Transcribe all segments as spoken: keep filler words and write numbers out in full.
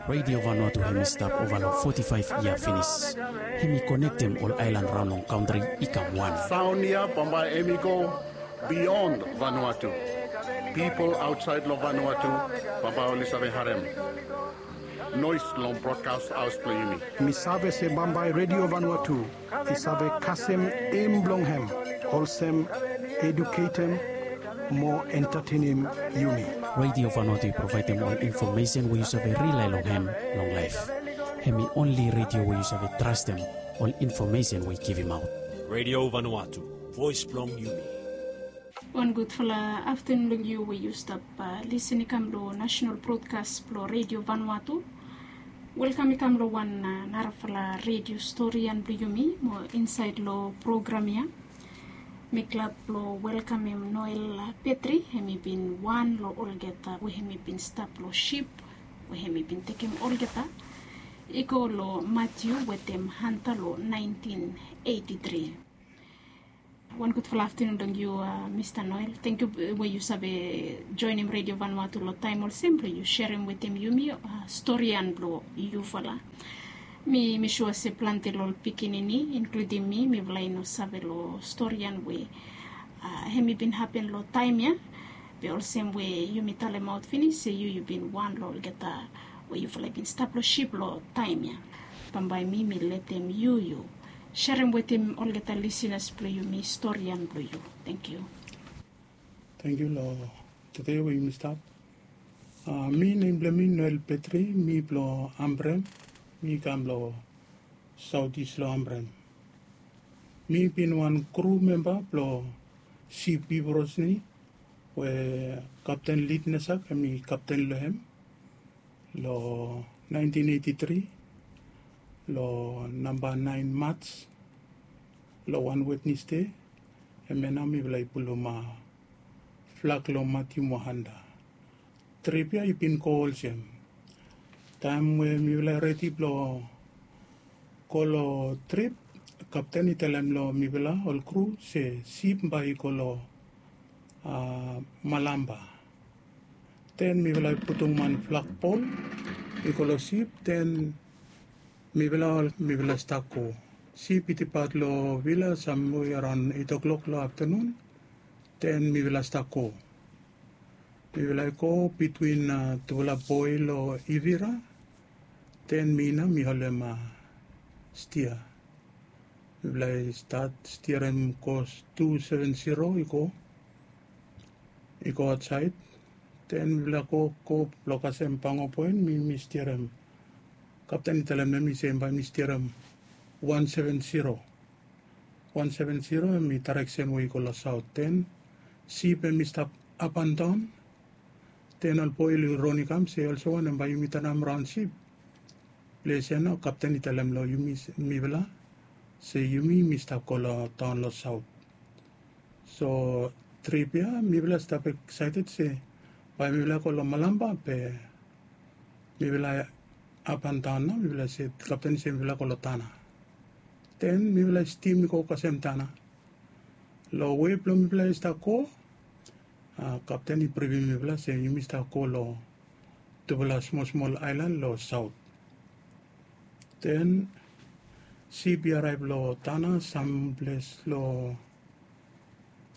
Radio Vanuatu hemi stap ova long foti faef yia finis. Hemi konektem ol aelan raon long kantri i kam wan. Saon ya bambae hemi go bion Vanuatu. Pipol aotsaed long Vanuatu bambae oli save harem noes long brodkas haos blong yumi. Mi save se bambae Radio Vanuatu i save kasem em blong hem olsem eduketem mo entatenem yumi. Radio Vanuatu i provaedem ol infomesen we yu save rilae long hem long laef. Hemi onli radio we yu save trastem ol infomesen we i givimaot. Radio Vanuatu, voes blong yumi. Wan gudfala aftanun long yu we yu stap lisin i kam long nasenal brodkas blong Radio Vanuatu. Welkam i kam long wan narafala redio storian blong yumi mo insaed long program ya. Mi glad blong welkamem Noel Petri, hemi bin wan long olgeta we hemi bin stap long sip we hemi bin tekem olgeta i go long Matiu wetem Hanta long naentin eiti tri. Wan gudfala aftanun long yu, Mista Noel. Tangkiu we yu save joenem Radio Vanuatu long taem olsem blong yu serem wetem yumi storian blong yufala. Mi mi sua se plante long ol pikinini, inkludim mi, mifala i no save long storian we hemi bin hapen long taem ya. Be olsem we yumi talemaot finis se yu yu bin wan long olgeta we yufala i bin stap long sip long taem ya. Bambae mi mi letem yu yu serem wetem olgeta lisinas blong yumi storian blong yu. Tangkiu. Tangkiu long tude we yumi stap. Mi nem blong mi Noel Petri, mi blong Ambrem. Mi kam long saotis long Ambrem. Mi bin wan kru memba blong sip Ivorosni we Kapten Lidnesak hemi kapten long hem long naentin eiti tri long namba naen Maj long wan Wednesde. Hemia nao mifala i pulum flag long Matiu mo Hanta. Trip ya i bin go olsem. Taem we mifala i redi blong go long trip, kapten i talem long mifala ol kru se sip bae i go long Malamba. Den mifala i putum wan flagpol i go long sip, den mifala ol mifala stap go. Sip i dipat long vila samwe araon eit oklok long aftanun. Den mifala stap go. Mifala i go bitwin tufala boe long Ivira. Den mi nao mi holem stia. Mifala i stat stiarem kos tu seven zero i go i go aotsaed. Den mifala go go blong kasem Pango Poen, mi mi stiarem. Kapten i talem long mi se bae mi stiarem wan seven zero. Wan seven zero hemi daereksen we i go long saot. Den sip hemi stap apandaon. Den ol boe oli ron i kam se olsem wanem bae yumi tanam raon sip. Ples ya nao kapten i talem long yumi mifala se yumi mi stap go long taon long saot. So trip ya mifala stap eksaeted se bae mifala go long Malamba be mifala apandaon nao mifala se kapten i se mifala go long Tana. Den mifala i stim i go kasem Tana. Long wei blong mifala i stap go, kapten i brifim mifala se yumi stap go long tufala smol smol aelan long saot. Den sip i araev long Tana samples long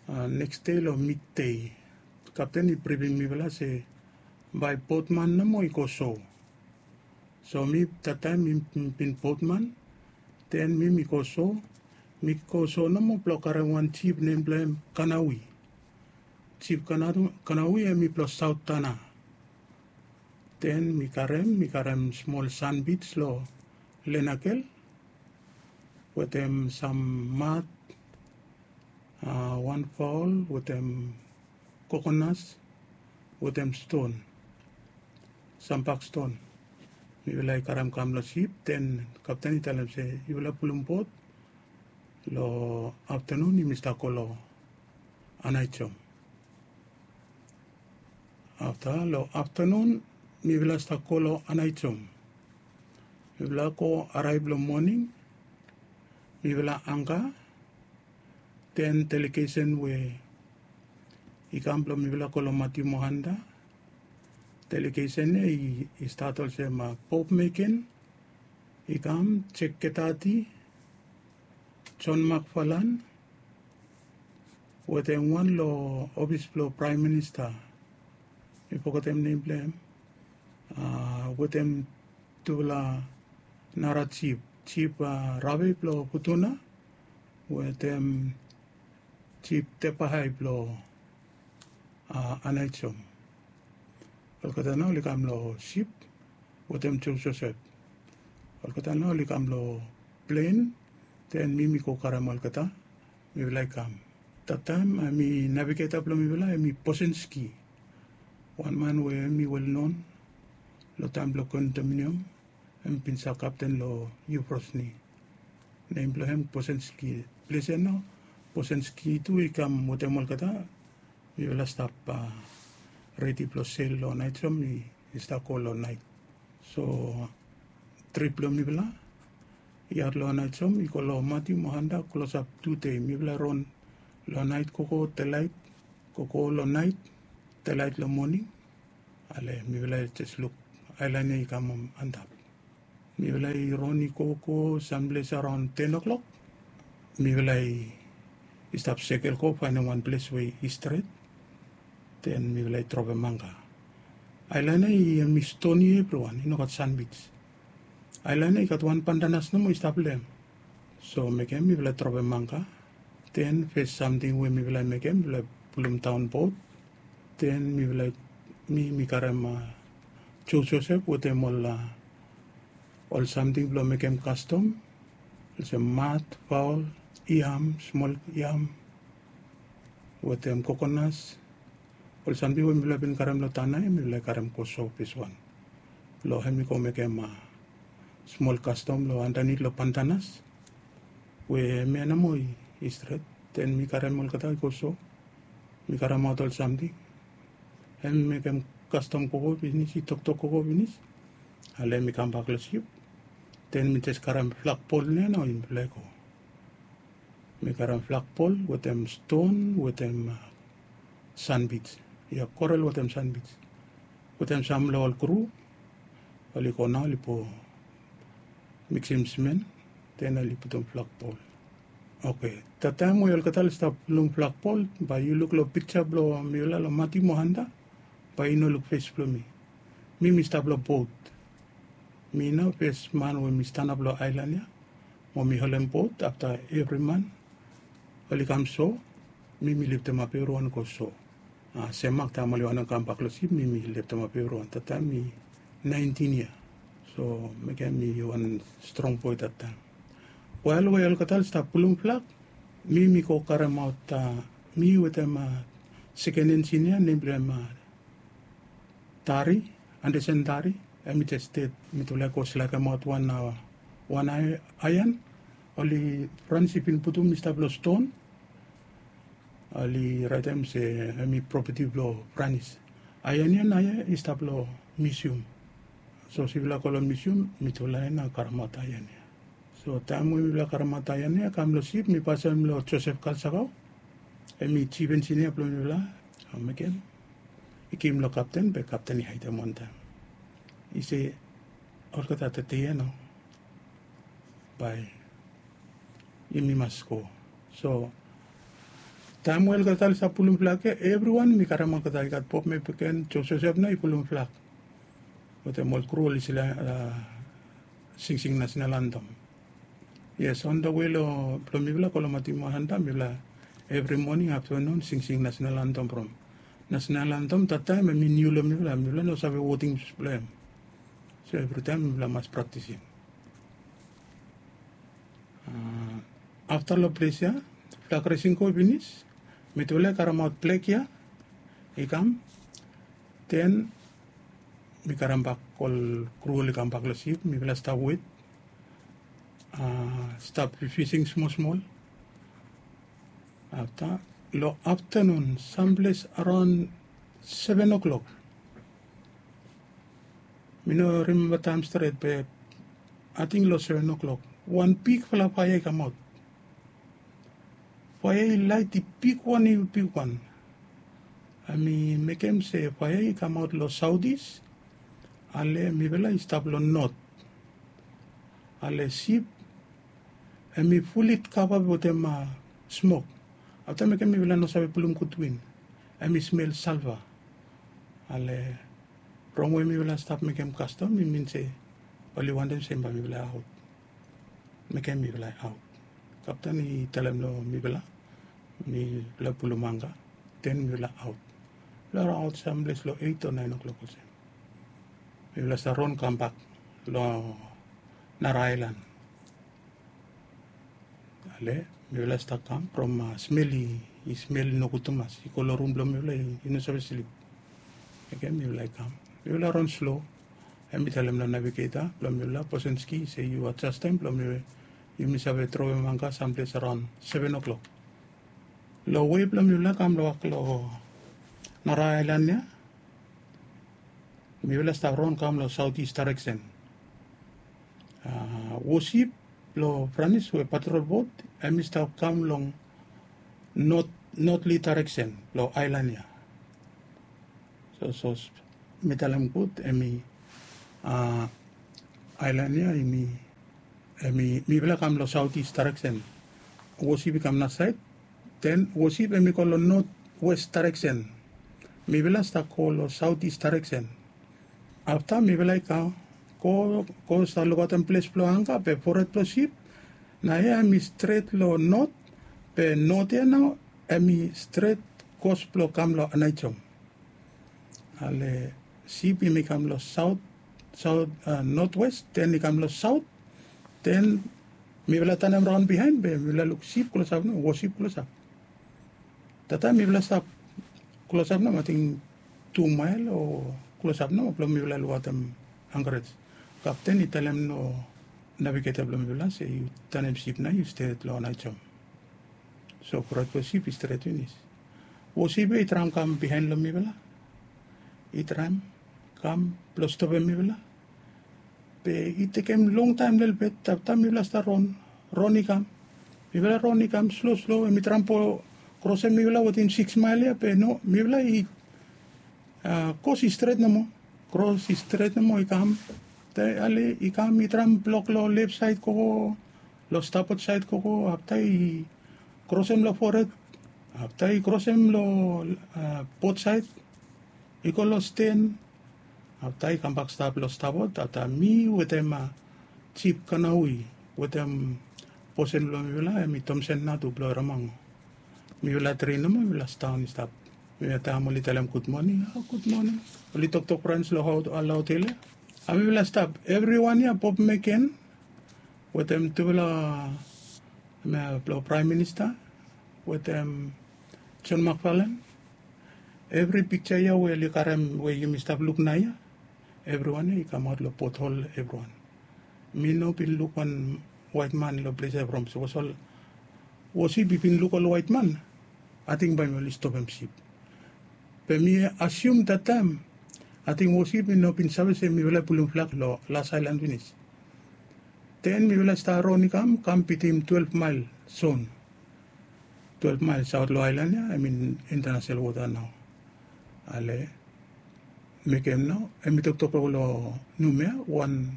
neks dei long midei. Kapten i brifim mifala se bae botman nomo i go so. So mi dat taem mi bin botman. Den mi mi go so, mi go so nomo blong karem wan jip nem blong hem Kanawi. Jip Kanawi hemi blong saot Tana. Den mi karem mi karem smol sanbij long Lenakel wetem sam mat, wan faol wetem kokonas wetem ston, sam bakston. Mifala i karem kam long sip, den kapten i talem se yufala pulum bot long aftanun yumi stap go long Anaijom. Afta long aftanun mifala stap go long Anaijom. Mifala go araev long moning. Mifala anga. Den delegesen we i kam blong mifala go long Matiu mo Hanta. Delegesen ya i stat olsem Bob Mekin, i kam, Jek Ketati, John McFarlane, wetem wan long ofis blong Praem Minista, mi fogetem nem blong hem, wetem tufala nara jif, Jif Rave blong Futuna wetem Jif Tepahai blong Anaijom. Olgeta nao oli kam long sip wetem Joe Joseph. Olgeta nao oli kam long plen, den mi mi go karem olgeta. Mifala i kam. Tattaem hem i navigeta blong mifala hem i Bosenski, wan man we hem i welnon long taem blong kondominium. Hem bin stap kapten long Yufrosni. Nem blong hem Bosenski. Ples ya nao Bosenski tu i kam wetem olgeta. Mifala stap redi blong sel long Anaijom i stap go long naet. So trip blong mifala i aot long Anaijom i go long Matiu mo Hanta klosap tu dei. Mifala ron long naet gogo delaet, gogo long naet delaet long moning. Ale mifala i jes luk aelan ya i kam antap. Mifala i ron i gogo samples araon ten o'clock. Mifala i stap sekel go faenem wan ples we i stret. Den mifala i dropem anka. Aelan ya i hem i stoni evriwan, i no gat sanbij. Aelan ya i gat wan pantanas nomo i stap long hem. So mekem mifala dropem anka. Den fes samting we mifala i mekem, mifala pulum daon bot. Den mifala, mi mi karem Joe Joseph wetem ol ol samting blong mekem kastom, olsem mat, faol, yam, smol yam, wetem kokonas. Ol samting we mifala bin karem long tana ya mifala i karem go so feswan blong hem i go mekem smol kastom long andanit long pantanas we hemia nomo i stret. Den mi karem olgeta i go so. Mi karemaot ol samting. Hem i mekem kastom gogo finis, i toktok gogo finis. Ale mi kambak long sip. Den mi jes karem flagpol nao, mifala i go. Mi karem flagpol wetem ston wetem sanbij. Ya, korel wetem sanbij. Wetem sam long ol kru, oli go nao oli po miksim simen, den oli putum flagpol. Oke, tattaem we olgeta oli stap pulum flagpol, bae yu luk long pikja blong mifala long Matiu mo Hanta, bae yu no luk fes blong mi. Mi mi stap long bot. Mi nao fes man we mi stanap long aelan ya mo mi holem bot. Afta evri man oli kam so, mi mi liftemap evriwan go so. Semak taem oli wantem kambak long sip, mi mi liftemap evriwan. Tattaem mi naentin yia. So mekem mi wan strong boe tattaem. Wael we olgeta oli stap pulum flag, mi mi go karemaot, mi wetem seken enjinia nem blong hem Tari, Andersen Tari. Hem i jes ded. Mitufala i go slekemaot wan, wan aean oli Franis i bin putum i stap long ston. Oli raetem se hem i propeti blong Franis. Aean ya naoia i stap long misium. Sapos yufala go long misium, mitufala ya nao karemaot aean ya. So taem we mifala karemaot aean ya kam long sip, mi pasem long Josef Kalsakao. Hem i jif enjinia blong mifala. Mekem i givim long kapten, be kapten i haedem wantaem. I se, olgeta tede ya nao bae yumi mas go. So taem we olgeta oli stap pulum flag ya, evriwan mi karem olgeta. I gat Bob Mekin, Joe Josef nao i pulum flag. Wetem ol kru oli singsing nasenal antem. Yes, on the way long blong mifala go long Matiu mo Hanta, mifala evri moning, aftanun singsing nasenal antem from. Nasenal antem tattaem hem i niu long mifala, mifala no save wodings blong hem. So evritaem mifala mas praktisim. Afta long ples ya, flag resing go finis, mitufala i karemaot flag ya i kam. Den mi karembak ol kru oli kambak long sip, mifala stap wet, stap fising smol smol. Afta long aftanun, samples araon seven o'clock, mi no rimemba taem stret, be ating long seven o'clock, wan bigfala faea i kamaot. Faea i laet i bigwan, i bigwan. Hem i mekem se faea i kamaot long saotis. Ale mifala i stap long not. Ale sip hem i fuli kava wetem smok. Afta mekem mifala no save pulum gud win. Hem i smel salva. Ale from we mifala stap mekem kastom i min se oli wantem se bae mifala aot. Mekem mifala aot. Kapten i talem long mifala mifala pulum anga. Den mifala aot. Mifala aot samples long eit o naen o'klok olsem. Mifala stap ron kambak long nara aelan. Ale mifala stap kam from smel i smel nogud tumas i go long rum blong mifala i no save slip. Oke mifala i kam. Mifala ron slo. Hem i talem long navigeta blong mifala Bosenski se yu adjastem blong mifala yumi save trowem anga samples araon seven o'klok. Long wei blong mifala kam long wak long nara aelan ya. Mifala stap ron kam long saotis dareksen. Wosip blong franis we patrol bot hem i stap kam long notli dareksen blong aelan ya. So so mi talem gud hem i aelan ya hem i mifala kam long saotis dareksen. Wosip i kam nasaed. Den wosip hem i go long notwes dareksen. Mifala stap go long saotis dareksen. Afta mifala i kam go go stap lukaotem ples blong anga be fored blong sip. Naoia hem i stret long not. Be not ya nao hem i stret kos blong kam long anaijom. Ale sip hem i kam long saot saot notwes den i kam long saot. Den mifala tanem raon bihaen be mifala luk sip klosap nao wosip klosap. Tata mifala stap klosap nao ating tu mael o klosap nao blong mifala lukaotem ankarej. Kapten i talem long navigeta blong mifala se yu tanem sip nao yu stret long anaijom. So fored blong sip i stret finis. Wosip ya i traem kam bihaen long mifala. I traem kam blong stopem mifala. Be i tekem longtaem lelebet afta mifala stap ron. Ron i kam. Mifala ron i kam slo slo hem i traem blong krosem mifala wetem siks mael ya be no mifala i kros i stret nomo. Kros i stret nomo i kam. Ale i kam i traem blok long lef saed gogo long stapot saed gogo afta i krosem long fored. Afta i krosem long bot saed i go long sten. Afta i kambak stap long stapot afta mi wetem jip kanaui wetem bosen blong mifala hem i tomsen natu blong ramango. Mifala tri nomo mifala staon i stap. Mifala taem oli talem gud moning a gud moning. Oli toktok frans long hao ala hotel ya. A mifala stap evriwan ya bob meken wetem tufala blong praem minista wetem jon makfalen. Evri pikja ya we oli karem we yumi stap luk naoia evriwan ya i kamaot long pothol evriwan. Mi no bin luk wan waetman long ples ya from sapos ol wosip i bin luk ol waetman ating bae mi oli stopem sip. Be mi asium dat taem ating wosip i no bin save se mifala i pulum flag long las aelan finis. Den mifala stap ron i kam kam bitim twelef mael zon. Twelef mael saot long aelan ya hem i intanasonal wota nao. Ale mekem nao hem i toktok long numea wan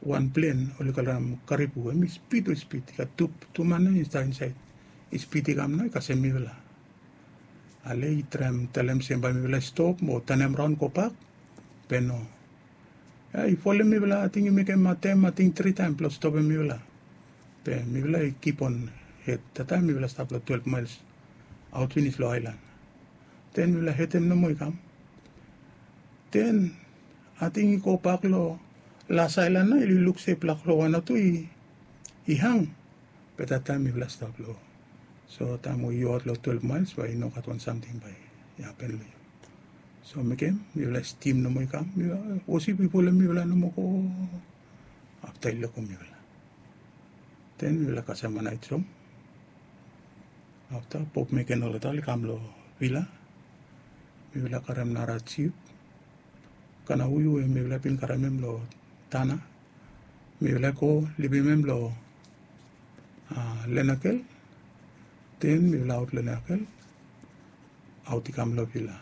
wan plen oli kalem karibu hem i spid we spid i gat tu man nao i stap insaed. I spid i kam nao i kasem mifala. Ale i traem talem se bae mifala i stop mo tanem raon gobak. Be no. Ya i folem mifala ating i mekem atem ating tri taem blong stopem mifala. Be mifala i kipon hed tataem mifala stap long twelef maels aot finis long aelan. Den mifala hedem nomo i kam. Den ating i gobak long las aelan nao i luk se blak long wan o tu i hang. Be dat taem mifala stap long so taem we yu aot long twelef maels bae i no gat wan samting bae i hapen long yu. So mekem mifala stim nomo i kam mifala wosip i pulem mifala nomo go afta i lego mifala. Den mifala kasem manaet som afta pop meken olgeta oli kam long vila. Mifala karem nara jip kana ui we mifala bin karem hem long tana. Mifala go libim hem long lenakel. Den mifala aot lenakel. aot i kam long vila.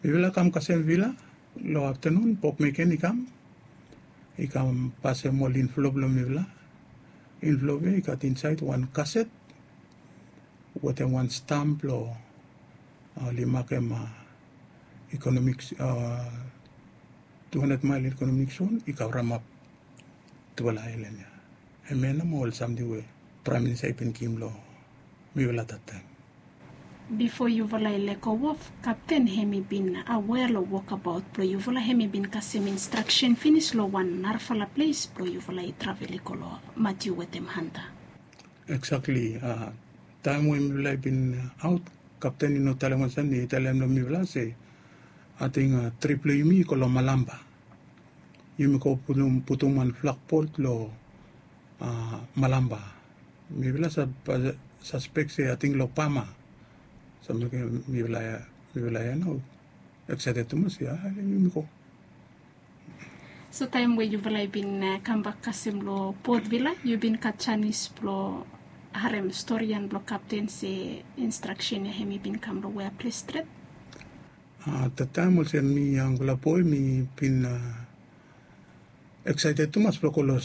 Mifala kam kasem vila long aftanun, bok meken i kam, i kam pasem ol inflop long mifala. Inflop ya i gat insaed wan kaset wetem wan stam blong oli makem ikonomik, tu handred mael ikonomik zon i kavremap tufala aelan ya. Hemia nao ol samting we praem minista i bin givim long mifala dat taem. Bifo yufala i lego of, kapten hem i bin awea long wokabaot blong yufala, hem i bin kasem instraksen finis long wan narafala ples blong yufala i travel i go long Matiu wetem Hanta. Eksakli. Taem we mifala i bin aot, kapten i no talem olsem, i talem long mifala se ating trip blong yumi i go long Malamba. Yumi go putum wan flagpol long Malamba. Mifala saspek se ating long Bama. Samting mifala ya nao eksaeted tumas ya, yumi go. So taem we yufala i bin kambak kasem long Port Vila, yu bin gat janis blong harem storian blong kapten se instraksen ya hem i bin kam long wea ples stret? Tataem olsem mi yangfala boe, mi bin eksaeted tumas blong go long